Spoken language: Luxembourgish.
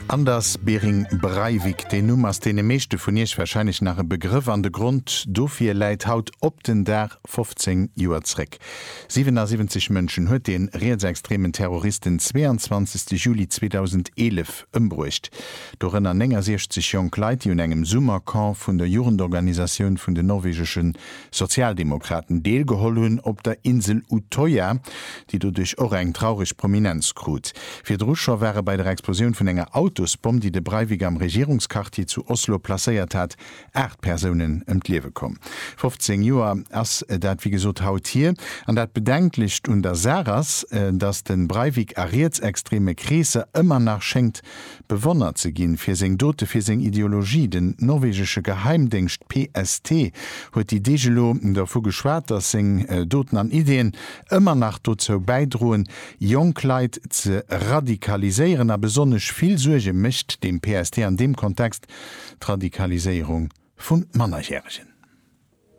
Anders Behring Breivik, deen Numm ass deene meeschte vun Iech warscheinlech nach e Begrëff an de Grond dofir läit haut op den Dag 15 Joer zréck. 77 Mënschen huet dee rietsextremen Terrorist den 22 Juli 2011 ëmbruecht, dorënner 69 jonk Leit, déi un engem Summercamp vun der Jugendorganisatioun vun den norwegesche Sozialdemokraten deelgeholl hunn op der Insel Utoya, déi doduerch och eng traureg Prominenz krut. Virdru scho ware bei der Explosioun vun enger Autosbomm, déi de Breivik am Regierungsquartier zu Oslo placéiert hat, 8 Persounen ëm d'Liewe komm. 15 Joer ass dat wéi gesot haut hier. An dat Bedenklecht un der Saach ass, datt de Breivik a rietsextreme Kreesser ëmmer nach schéngt bewonnert ze ginn fir seng Dote, fir seng Ideologie. Den norwegesche Geheimdéngscht PST huet déi Deeg elo dervu geschwat, datt seng Doten an Ideeën ëmmer nach dozou bäidroen, jonk Leit ze radikaliséieren. A besonnesch vill Suerge mécht dem PST an deem Kontext d'Radikaliséierung vu Mannerjäregen.